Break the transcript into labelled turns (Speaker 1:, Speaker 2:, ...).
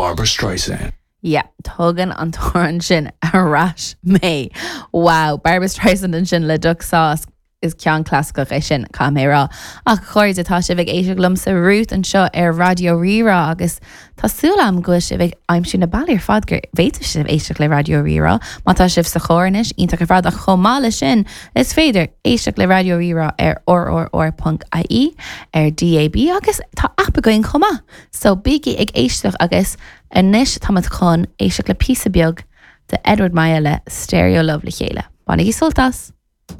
Speaker 1: Barbra Streisand.
Speaker 2: Yeah, tugann an t-amhrán sin ar ais mé. Wow, Barbra Streisand ansin le Duck Sauce. Is ceann clasaiceach é sin, caithfidh mé a rá. Ach a chairde, tá sibh ag éisteacht liomsa Ruth anseo ar Raidió Rí-Rá agus tá súil agam go bhfuil sibh ag aimsiú na bealaí ar fad gur féidir sibh éisteacht le Raidió Rí-Rá. Má tá sibh sa charr anois, iontach ar fad ach chomh maith leis sin, is féidir éisteacht le Raidió Rí-Rá ar rrr.ie, ar DAB agus tá aip againn chomh maith. So bígí ag éisteacht agus anois táimid chun éisteacht le píosa beag de Edward Maya le Stereo Love le chéile. Bainigí sult as!